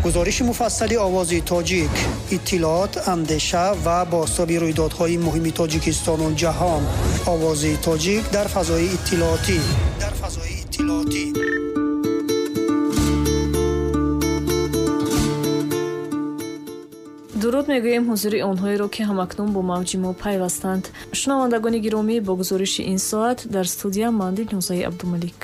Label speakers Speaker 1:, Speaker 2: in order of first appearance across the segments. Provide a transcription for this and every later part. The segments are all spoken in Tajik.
Speaker 1: Гузориши муфассали Овози Тоҷик, иттилоот, андеша ва бозтоби рӯйдодҳои муҳими Тоҷикистону ҷаҳон. Овози Тоҷик дар фазои иттилоотӣ. Дар фазои иттилоотӣ.
Speaker 2: Дуруд мегӯем ҳузури онҳоеро, ки ҳамакнун бо мавҷи мо пайвастанд. Шунавандагони гиромӣ, бо гузориши ин соат дар студия ман Дилнозаи Абдумалик.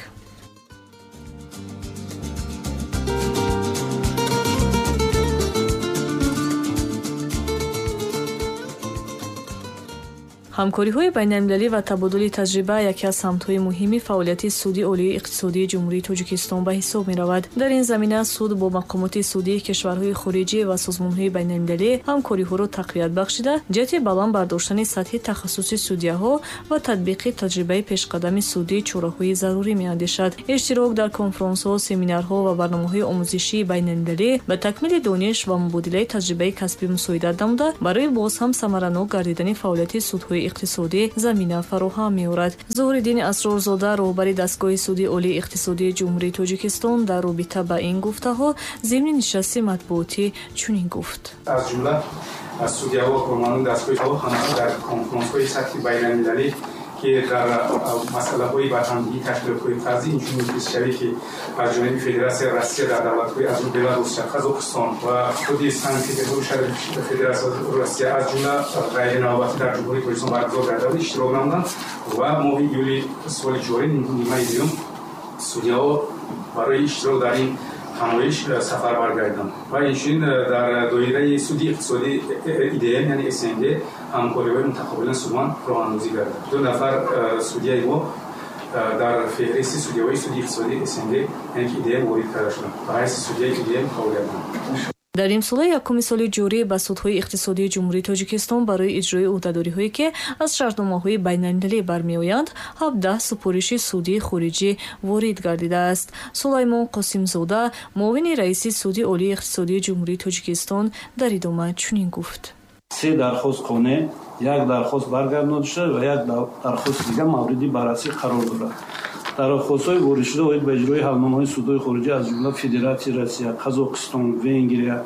Speaker 2: Ҳамкориҳои байналмилалӣ ва табодули таҷриба яке аз самтҳои муҳими фаъолияти Суди Олии иқтисодии Ҷумҳурии Тоҷикистон ба ҳисоб меравад. Дар ин замина суд бо мақомоти судии кишварҳои хориҷӣ ва созмонҳои байналмилалӣ ҳамкориҳоро тақвият бахшида, ҷиҳати баланд бардоштани сатҳи тахассуси судяҳо ва татбиқи таҷрибаи пешқадами судӣ чораҳои зарурӣ меандешад. Иштирок дар конфронсҳо, семинарҳо ва барномаҳои омӯзишии байналмилалӣ ба такмили дониш ва мубодилаи таҷрибаи касбӣ мусоидат намуда, барои боз ҳам самаранок гардидани фаъолияти судҳои иқтисодӣ замина фароҳам меорад. Зуҳриддин Асрорзода, роҳбари дастгоҳи Суди Олии иқтисодии Ҷумҳурии Тоҷикистон, дар робита ба ин гуфтаҳо зимни нишасти матбуотӣ чунин гуфт.
Speaker 3: Аз ҷумла аз судяҳо, кормандони дастгоҳи ҳамаҳо дар конфронсҳои сатҳи байналмилалӣ, ки дар масъалаҳои барҳамдиҳии ташкилотҳои қарзӣ, инчунин муфлисшавӣ, ки аз ҷониби Федератсияи Россия дар давлатҳои аз Беларус, Қазоқистон ва худи Санкт-Петербург шаҳри Федератсияи Россия, аз ҷумла ғайринавбатӣ дар Ҷумҳурии Тоҷикистон баргузор гардида, иштирок намуданд ва моҳи июли соли ҷорӣ нимаи дуюм судяҳо барои иштирок дар ин ҳамоиш сафар баргардиданд ва инчунин дар доираи суди иқтисодӣ ИДМ, яъне СНГ, ҳамкориҳои мутақобилан судманд роҳандозӣ гардид. 2 нафар судяи мо дар феҳристи судяҳои суди иқтисодии СНГ, яъне ки ИДМ, ворид карда шуданд. Ба ҳайси судяи ИДМ фаъолият намуданд.
Speaker 2: Дар нимсолаи якуми соли ҷорӣ ба судҳои иқтисодии Ҷумҳурии Тоҷикистон барои иҷрои ӯҳдадориҳое, ки аз шартномаҳои байналмилалӣ бармеоянд, 17 супориши судии хориҷӣ ворид гардидааст. Сулаймон Қосимзода, муовини раиси Суди Олии иқтисодии Ҷумҳурии Тоҷикистон, дар идома чунин гуфт.
Speaker 4: 3 дархост қонеъ, 1 дархост баргардонида шуда ва 1 дархости дигар мавриди баррасӣ қарор дорад. Дархостҳои воридшуда оид ба иҷрои ҳалномаҳои судҳои хориҷӣ аз ҷумла Федератсияи Россия, Қазоқистон, Венгрия,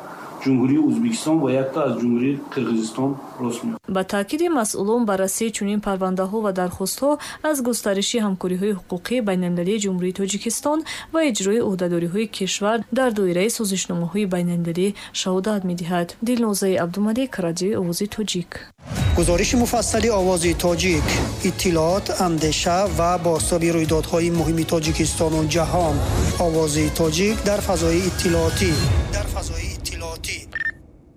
Speaker 4: Ҷумҳурии Ӯзбекистон ва якта аз Ҷумҳурии Қирғизистон рост меояд.
Speaker 2: Ба таъкиди масъулон, баррасии чунин парвандаҳо ва дархостҳо аз густариши ҳамкориҳои ҳуқуқии байналмилалии Ҷумҳурии Тоҷикистон ва иҷрои ӯҳдадориҳои кишвар дар доираи созишномаҳои байналмилалӣ шаҳодат медиҳад. Дилнозаи Абдумалик, радиои Овози Тоҷик.
Speaker 1: Гузориши муфассали Овози Тоҷик, иттилоот, андеша ва бозтоби рӯйдодҳои муҳими Тоҷикистону ҷаҳон. Овози Тоҷик дар фазои иттилоотӣ. Дар фазои иттилоотӣ.